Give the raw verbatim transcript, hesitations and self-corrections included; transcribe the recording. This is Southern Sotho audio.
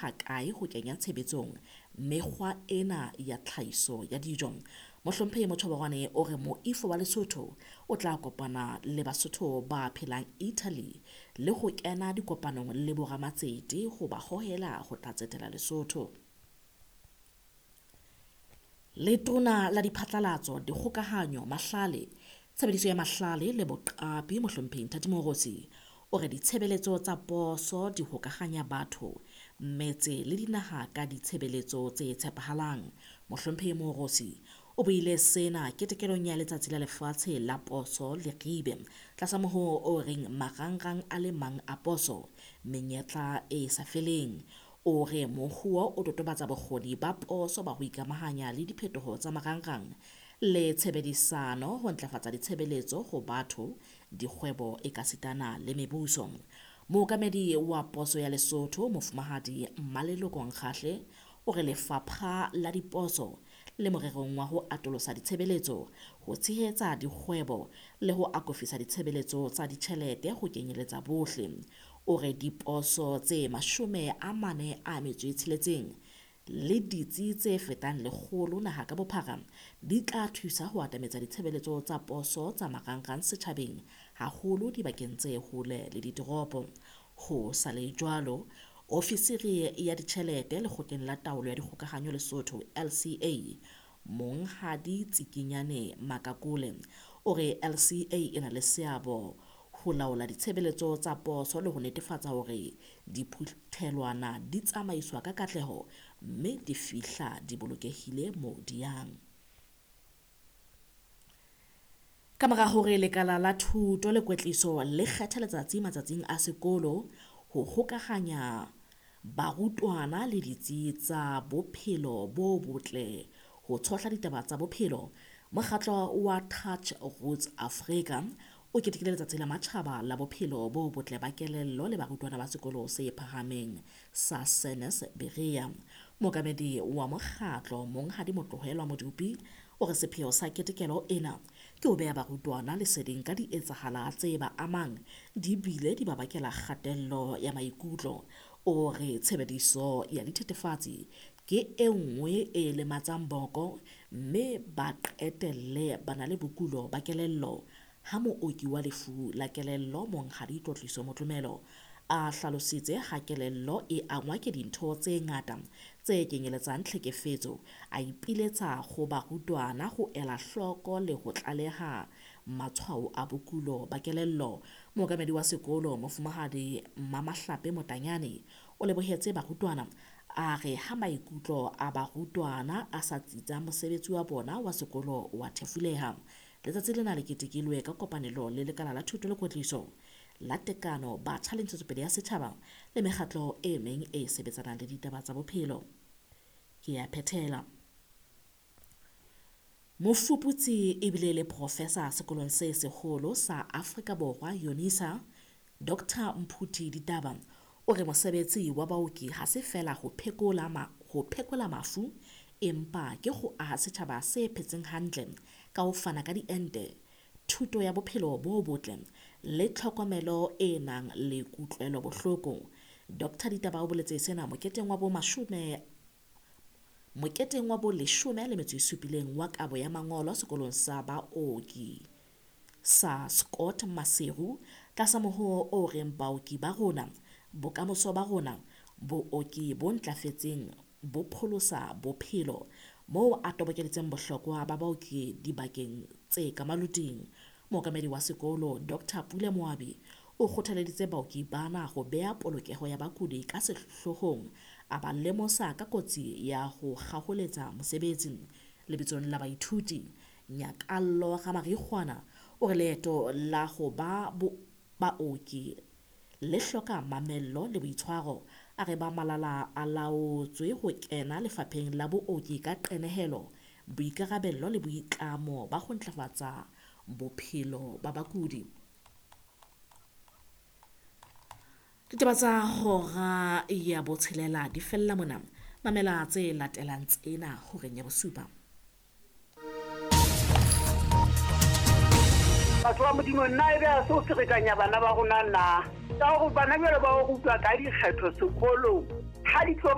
Hakae ho kenya tshebetsong mekgwa ena ya tlhahiso ya dijo. Mohlomphehi Mochoboroane o re moifo wa Lesotho o tla kopana le Basotho ba phelang Italy le ho kena dikopanong le boramatsete ho ba hohela ho tla tsetela Lesotho. Letona la Diphatlalatso, Dikgokahanyo, Mahlale, Tshebediso ya Mahlale le Boqapi Mohlomphehi Nthati Moorosi o re ditshebeletso tsa poso di hokahanya batho, metse le dinaha ka ditshebeletso tse tshepahalang. Mohlomphehi Moorosi o buile sena ketekelong ya Letsatsi la Lefatshe la Poso Leribe tlasa mohoo o reng marangrang a le mang a poso, menyetla e sa feleng. O re mohoo o totobatsa bokgoni ba poso ba ho ikamahanya le diphetoho tsa marangrang le tshebedisano ho ntlafatsa ditshebeletso ho batho, dikgwebo ekasitana le mebuso. Mookamedi wa Poso ya Lesotho Mofumahadi Mmaleloko Nkgahle o re lefapha la diposo le morerong wa ho atolosa ditshebeletso, ho tshehetsa dikgwebo le ho akofisa ditshebeletso tsa ditjhelete ho kenyeletsa bohle. O re diposo tse mashome a mane a metso e tsheletseng le ditsi tse fetang lekgolo naha ka bophara di tla thusa ho atametsa ditshebeletso tsa poso tsa marangrang setjhabeng, haholo dibakeng tse hole le ditoropo. Ho sa le jwalo, ofisiri ya ditjhelete Lekgotleng la Taolo ya Dikgokahanyo Lesotho L C A, Monghadi Tsikinyane Makakole, o re L C A e na le seabo ho laola ditshebeletso tsa poso le ho netefatsa hore diphuthelwana di tsamaiswa ka katleho mme di fihla di bolokehile moo di yang. Ka mora hore lekala la thuto le kwetliso le kgethe letsatsi matsatsing a sekolo ho hokahanya barutwana le ditsi tsa bophelo bo botle ho tshohla ditaba tsa bophelo, mokgatlo wa Touch Roots Africa o ketekile letsatsi la matjhaba la bophelo bo botle ba kelello le barutwana ba sekolo se phahameng sa Senes Berea. Mookamedi wa mokgatlo Monghadi Motlohelwa Modupi o re sepheo sa ketekelo ena ke ho beha barutwana leseding ka dietsahala tse ba amang di bile di ba bakela kgatello ya maikutlo. O re tshebediso ya dithethefatsi ke e nngwe e lematsang boko mme ba qetelle ba na le bokulo ba kelello. Ha mooki wa lefu la kelello Monghadi Tlotliso Motlomelo a hlalositse ha kelello e angwa ke dintho tse ngata tse kenyeletsang tlhekefetso, a ipiletsa ho barutwana ho ela hloko le ho tlaleha matshwao a bokulo ba kelello. Mookamedi wa sekolo Mofumahadi Mmamahlape Motanyane o lebohetse barutwana, a re ha maikutlo a barutwana a sa tsitsa mosebetsi wa bona wa sekolo wa thefuleha. Letsatsi lena le ketekilwe ka kopanelo le lekala la thuto le kwetliso la tekano, batjha le ntshetsopele ya setjhaba le mekgatlo e meng e sebetsanang le ditaba tsa bophelo. Ke ya phethela. Mofuputsi ebile le professor sekolong se seholo sa Afrika Borwa UNISA, Doctor Mphuthi Ditaba, o re mosebetsi wa baoki ha se fela ho phekola ma, ho phekola mafu, empa ke ho aha setjhaba se phetseng hantle ka ho fana ka diente, thuto ya bophelo bo botle le tlhokomelo e nang le kutlwelo bohloko. Doctor Ditaba o boletse sena moketeng wa bo mashome moketeng wa bo leshome le metso e supileng wa kabo ya mangolo sekolong sa baoki sa Scott Maseru tlasa mohoo o reng baoki ba rona, bokamoso ba rona, booki bo ntlafetseng bo pholosa bophelo, moo a tobokeditseng bohlokwa ba baoki dibakeng tse ka maluting. Mookamedi wa sekolo Doctor Pule Moabi o kgothaleditse baoki bana ho beha polokeho ya bakudi ka sehlohong, a ba lemosa ka kotsi ya ho kgaholetsa mosebetsi. Lebitsong la baithuti, Nyakallo Ramarikgwana o re leeto la ho ba baoki le hloka mamello le boitshwaro. A re ba malala a laotswe ho kena lefapheng la booki ka qenehelo, boikarabello le boitlamo ba ho ntlafatsa bophelo ba bakudi. Ditaba tsa hora ya botshelela di fella mona. Mamela tse latelang tsena horeng ya bosupa. Batho ba Modimo, nna ebe ha se o ferekanya bana ba rona na? Ka hore bana jwale ba o rutwa ka dikgetho sekolong, ha di tlo